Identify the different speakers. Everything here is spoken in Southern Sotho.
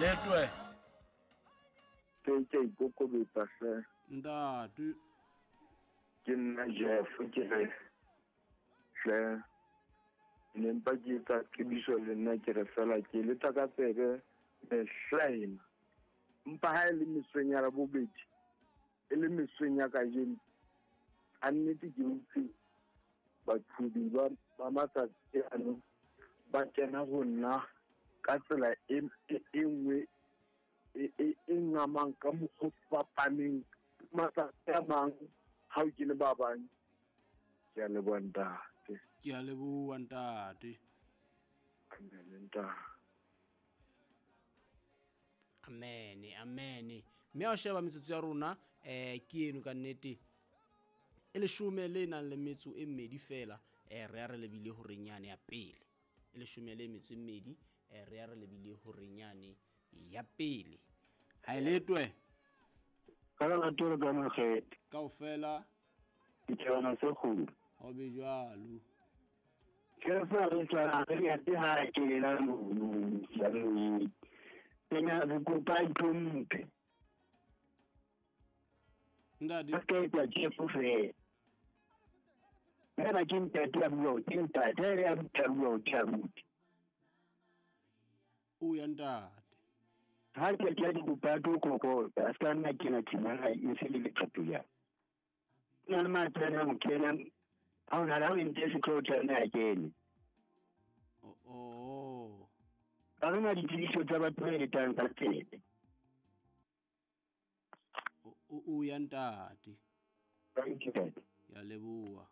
Speaker 1: Letwe.
Speaker 2: Ke ke ikokobetsa hle.
Speaker 1: Ntate.
Speaker 2: Ke nna Jeff ke re hle ne mpa ke etsa tsebiso le nna ke re fela ke letsa ka tsebe mehlaena mpa ha e le mesong ya labobedi e le mesong ya kajeno a nnete ke utlwe baqhubi ba ba matsatsi ano ba kena ho nna ka tsela e e nngwe e e e ngamang ka mokgwa o fapaneng matsatsi a mang ha o kene ba bang. Ke a leboha ntate.
Speaker 1: Ke a leboha ntate.
Speaker 2: Amen ntate.
Speaker 1: Amen, amen. Mme a sheba metsotso ya rona ke eno ka nnete e leshome le nang le metso e mmedi fela, re ya re lebile horeng yane ya pele. E leshome le metso e mmedi, re ya re lebile horeng yane ya pele. Ha e letwe.
Speaker 3: Ka lerato le ka makgethe.
Speaker 1: Kaofela.
Speaker 3: Dithabana tse kgolo.
Speaker 1: Ho be jwalo.
Speaker 3: Ke fa re tshwana re ya te ha ke la mono ya mono. Tena re kopa itlhomphe.
Speaker 1: Ntate.
Speaker 3: Ka ke tla tjefo fela. Ena ke ntate ya bua, ke ntate ya bua, ke a bua.
Speaker 1: O ya ntate.
Speaker 3: Ha ke tla di kopa to kokota, a ska nna kena tshimana e se le leqato ya. Na le matsena mo kena. Ha ona la o ntse se tlo tla na kene.
Speaker 1: Oh, oh.
Speaker 3: Ba rena ditsebiso tsa batho ba etang ka tsebe.
Speaker 1: O ya ntate.
Speaker 3: Thank you, Dad.
Speaker 1: Ya leboha.